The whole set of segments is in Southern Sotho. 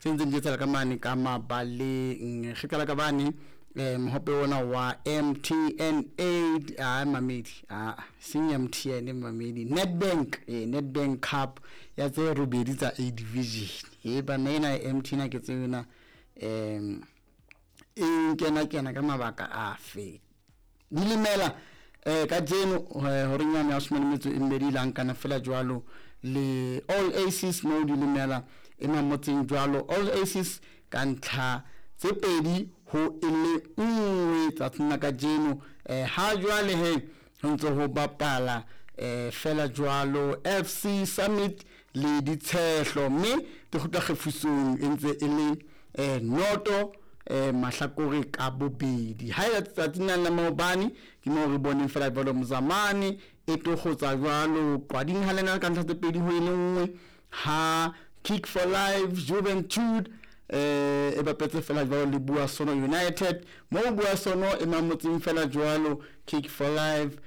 tse ntseng di etsahala ka mane ka mabaleng. Re qala ka bane mohope ona wa MTN 8 a mamedi a seng MTN mamedi Nedbank, Nedbank Cup ya tse robedi tsa A Division. E bana ena ya MTN ke tsena e nkena kena ka mabaka afe. Dilemela kajeno horeng yane ya 12 lankana fela jwalo le All Aces mo dilemela e mamotseng jwalo All Aces ka ntlha tse pedi ho e le nngwe tsatsing la kajeno. Ha jwale he ho ntse ho bapala fela jwalo FC Summit le Ditshehlo, mme di kgutla kgefusong e ntse e le noto mahlakore ka bobedi. Ha e tsatsing la maobane ke mo re boneng fela jwalo Mzamane e tokgotsa jwalo Qwading ha lena ka ntlha tse pedi ho e le nngwe, ha Kick for Life Juventude e bapetse fela jwalo le Buasono United, mo Buasono e mamotseng fela jwalo Kick for Life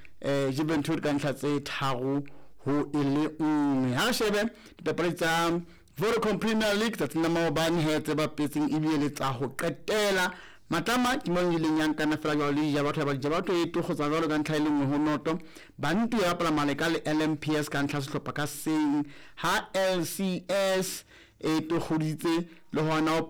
Juventude ka ntlha tse tharo ho e le nngwe. Ha re shebe dipapadi tsa Vodacom Premier League tsatsing la maobane he tse bapetseng ebile le tsa ho qetela. Matlama ke mo ileng ya nkana fela jwalo le Dijabatho, ya ba Dijabatho e tokgotsa jwalo ka ntlha e le nngwe ho noto. Bantu ya bapala Maleka le LMPS ka ntlha sehlopha ka seng, ha LCS e tokgoditse le hona ho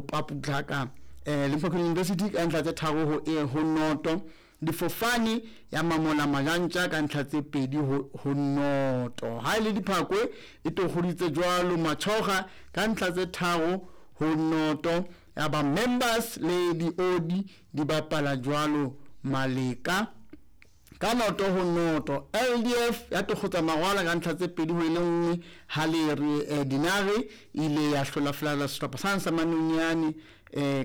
paputlaka Limpopo University ka ntlha tse tharo ho e ho noto. Difofane ya mamola Majantja ka ntlha tse pedi ho noto. Ha ile Diphakwe e tokgoditse jwalo Machoga ka ntlha tse tharo ho noto. Ya ba Members le Diodi di bapala jwalo Maleka ka noto ho noto. LDF ya tokgotsa Mangwala ka ntlha tse pedi ho e le nngwe, ha le re Dinare ile ya hlola fela sehlopha sa Manonyane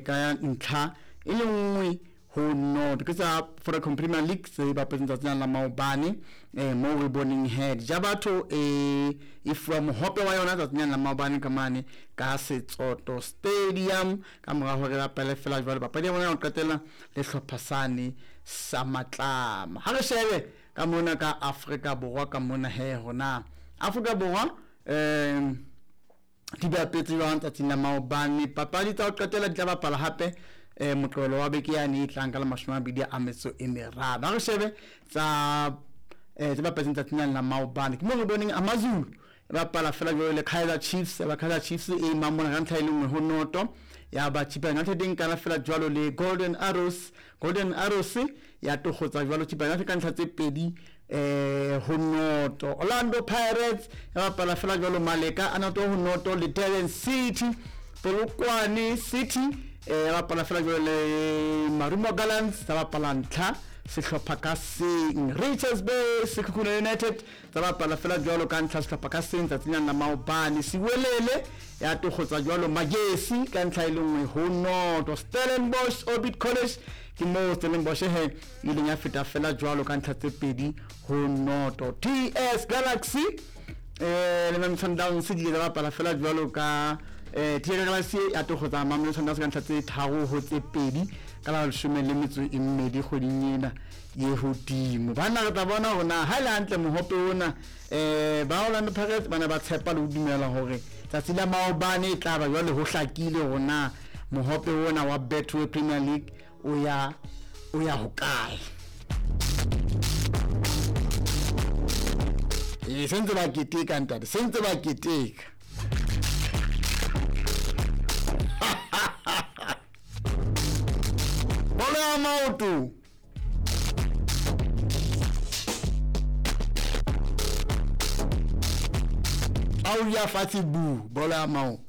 ka ntlha e le nngwe ho noto. Ke tsa Vodacom Premier League tse bapetseng tsatsing la maobane mo re boneng he Dijabatho e fuwa mohope wa yona tsatsing la maobane ka mane ka Setsoto Stadium ka mora hore ba bapale fela jwalo papadi ya bona ya ho qetela le hlopha sane sa Matlama. Ha re shebe ka mona ka Afrika Borwa ka mona he hona Afrika Borwa di bapetse jwang tsatsing la maobane. Papadi tsa ho qetela di tla bapala hape moqebelo wa beke yane e tlang ka la 23. Ha re shebe tsa tse bapetseng tsatsing la maobane ke mo re boneng AmaZulu e bapala fela jwalo le Kaizer Chiefs, ba Kaizer Chiefs e mamona ka ntlha e le nngwe ho noto. Ya ba Chippa United e nkana fela jwalo le Golden Arrows, Golden Arrows ya tokgotsa jwalo Chippa United ka ntlha tse pedi ho noto. Orlando Pirates ya bapala fela jwalo Maleka a noto ho noto le Durban City. Polokwane City ya bapala fela jwalo le Marumo Gallants tsa bapala ntlha sehlopha ka seng. Richards Bay Sekhukhune United tsa bapala fela jwalo ka ntlha sehlopha ka seng tsatsing la maobane. Siwelele ya tokgotsa jwalo Magesi ka ntlha e le nngwe ho noto. Stellenbosch Orbit College ke mo Stellenbosch he ileng ya feta fela jwalo ka ntlha tse pedi ho noto. TS Galaxy le Mamelodi Sundowns di ile tsa bapala fela jwalo ka TS Galaxy ya tokgotsa Mamelodi Sundowns ka ntlha tse tharo ho tse pedi ka la 12 kgweding ena ye hodimo. Bana re tla bona hore na ha le hantle mohope ona ba Orlando Pirates bana ba tshepa le ho dumela hore tsatsi la maobane e tla ba jwale ho hlakile hore na mohope ona wa Betway Premier League o ya hokae. Sentse ba keteka ntate, sentse ba keteka. Bolo ya maoto. Au ya fatshe bu, bolo ya maoto.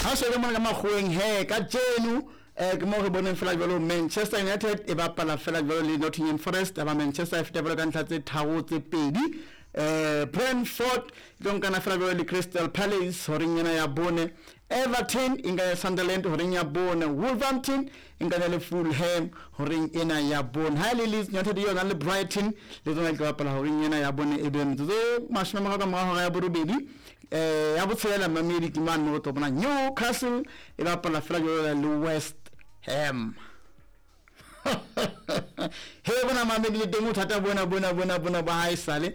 Ha shebe mona ka makgoweng he ka jeno ke mo re boneng fela jwalo Manchester United e bapala fela jwalo le Nottingham Forest, ba Manchester e feta jwalo ka ntlha tse tharo tse pedi. Brentford e tlo nkana fela jwalo le Crystal Palace horeng ena ya bone. Everton e nkana le Sunderland horeng ya bone. Wolverhampton e nkana le Fulham horeng ena ya bone. Ha le Leeds United yona le Brighton le tsona di tlo bapala horeng ena ya bone e be metsotso 30 ka mora hora ya borobedi. Ya botshelela mamedi ke mane mo re tlo bona Newcastle e bapala fela jwalo le West Ham. He bona mamedi le teng o thata bona bona bona bona ba haesale.